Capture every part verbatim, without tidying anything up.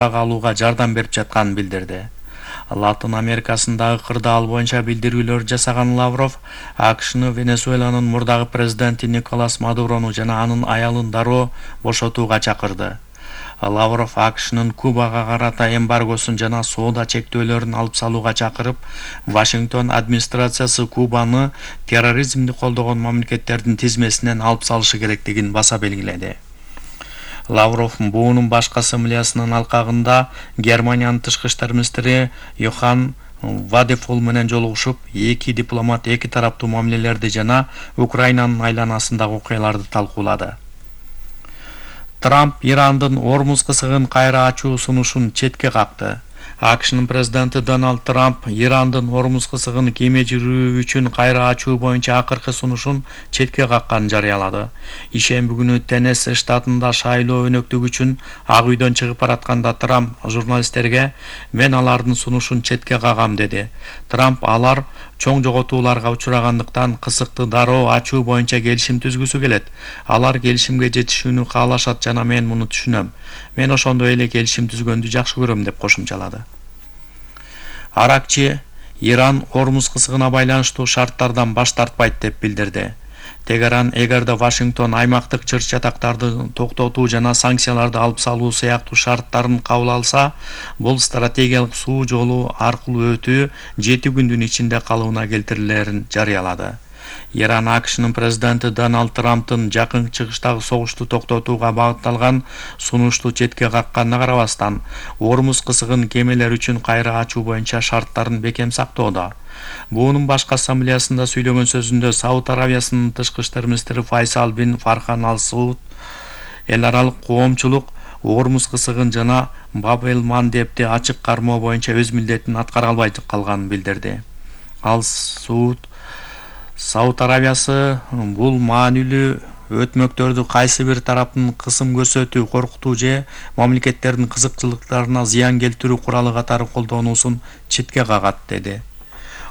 алууга жардам берип жатканын билдирди. Латын Америкасындагы кырдаал боюнча билдирүүлөр жасаган Лавров АКШны Венесуэланын мурдагы президенти Николас Мадурону жана анын аялын дароо бошотууга чакырды. Лавров АКШнын Кубага карата эмбаргосун жана соода чектөөлөрүн алып салууга чакырып, Вашингтон администрациясы Кубаны терроризмди колдогон мамлекеттердин тизмесинен алып салышы керектигин баса белгиледи. Лавров буунун башкы ассамблеясынын алкагында Германиянын тышкы иштер министри Йохан Вадефол менен жолугушуп, эки дипломат эки тараптуу мамилелерди жана Украинанын айланасындагы окуяларды талкуулады. Трамп Ирандын Ормуз кысыгын кайра ачуу сунушун четке какты. АКШнын президенти Дональд Трамп Ирандын Ормуз кысыгын кеме жүрүү үчүн кайра ачуу боюнча акыркы сунушун четке какканын жарыялады. Ишемби күнү Теннесси штатында шайлоо өнөктүгү үчүн Ак үйдөн чыгып баратканда Трамп журналисттерге "Мен алардын сунушун четке кагам" деди. Трамп алар чоң жоготууларга учурагандыктан кысыкты дароо ачуу боюнча келишим түзгүсү келет. Алар келишимге жетишүүнү каалашат жана мен муну түшүнөм. Мен ошондой эле келишим түзгөндү жакшы көрөм деп кошумчалады. Аракчы Иран Ормуз кысыгына байланыштуу шарттардан баш тартпайт деп билдирди. Тегеран эгерде Вашингтон аймактык чыр-чатактарды токтотуу жана санкцияларды алып салуу сыяктуу шарттарын кабыл алса, бул стратегиялык суу жолу аркылуу өтүү жети күндүн ичинде калыбына келтирилерин жарыялады. Иран АКШнын президенти Дональд Трамптын жакын чыгыштагы согушту токтотууга багытталган сунушту четке какканына карабастан, Ормуз кысыгын кемелер үчүн кайра ачуу боюнча шарттарын бекем сактоодо. Буунун башкы ассамблеясында сүйлөгөн сөзүндө Сауд Аравиясынын тышкы иштер министри Файсал бин Фархан Ал Сауд эл аралык коомчулук Ормуз кысыгын жана Баб-эль-Мандебди ачык кармоо боюнча өз милдетин аткара албай калганын билдирди. Ал Сауд Сауд Аравиясы бул маанилүү өтмөктөрдү кайсы бир тараптын кысым көрсөтүү, коркутуу же мамлекеттердин кызыкчылыктарына зыян келтирүү куралы катары колдонуусун четке кагат, деди.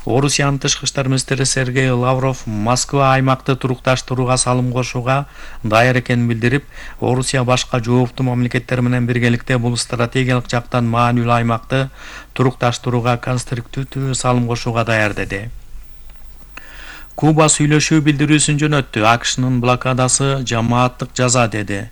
Орусиянын тышкы иштер министри Сергей Лавров Москва аймакты турукташтырууга салым кошууга даяр экенин билдирип, Орусия башка жооптуу мамлекеттер менен биргеликте бул стратегиялык жактан маанилүү аймакты турукташтырууга конструктивдүү салым кошууга даяр, деди. Куба сүйлөшүү билдирүүсүн жөнөттү. АКШнын блокадасы жамааттык жаза, деди.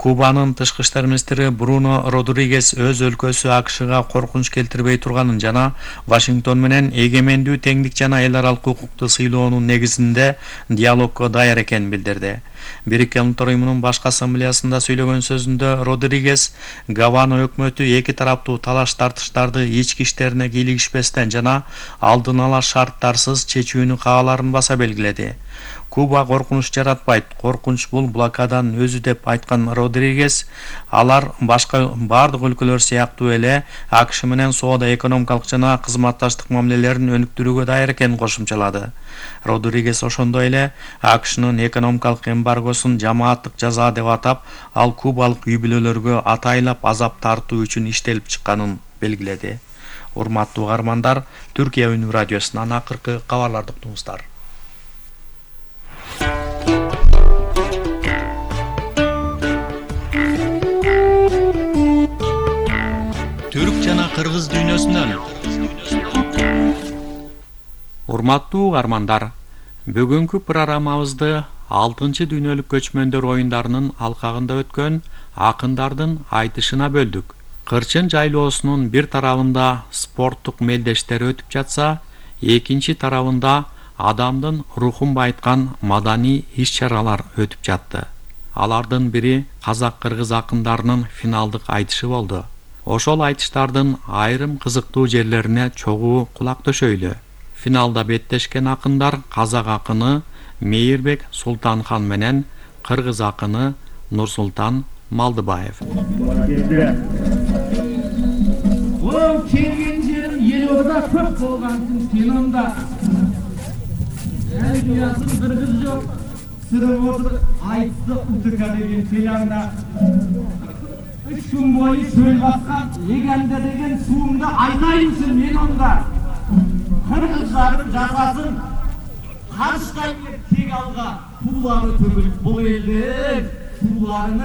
Кубанын тышкы иштер министри Бруно Родригес өз өлкөсү АКШга коркунуч келтирбей турганын жана Вашингтон менен эгемендүү, теңдик жана эл аралык укукту сыйлоонун негизинде диалогго даяр экенин билдирди. Бириккен Улуттар уюмунун башкы ассамблеясында сүйлөгөн сөзүндө Родригес Гавана өкмөтү эки тараптуу талаш-тартыштарды ички иштерине кийлигишпестен жана алдын ала шарттарсыз чечүүнү каалаарын баса белгиледи. Куба коркунуч жаратпайт, коркунуч бул блокаданын өзү деп айткан Родригес, алар башка бардык өлкөлөр сыяктуу эле АКШ менен соода, экономикалык жана кызматташтык мамилелерин өнүктүрүүгө даяр экенин кошумчалады. Родригес ошондой эле АКШнын экономикалык эмбаргосун жамааттык жаза деп атап, ал кубалык үй-бүлөлөргө атайлап азап тартуу үчүн иштелип чыкканын белгиледи. Урматтуу угармандар, Түркия Үнү радиосунан акыркы кабарларды уктуңуздар. Түрк жана кыргыз дүйнөсүнөн. Урматтуу угармандар, бүгүнкү программабызды алтынчы дүйнөлүк көчмөндөр оюндарынын алкагында өткөн акындардын айтышына бөлдүк. Кырчын жайлоосунун бир тарабында спорттук мелдештер өтүп жатса, экинчи тарабында адамдын рухун байыткан маданий иш-чаралар өтүп жатты. Алардын бири казак-кыргыз акындарынын финалдык айтышы болду. Ошол айтыштардын айрым кызыктуу жерлерине чогуу кулак төшөйлү. Финалда беттешкен акындар казак акыны Мейирбек Султанхан менен кыргыз акыны Нурсултан Малдыбаев. Ол келген жерим Елорда көп болгон финалда. Әлбиясын кыргыз жок, сырып отур айтты утука деген финалда. Үч күн бою сөл баскан эгенде деген суумда айтайынчы мен онда. Кыргызлардын жазасын карыштайын деп тек алга туулары төгүлүп бул элдин тууларыны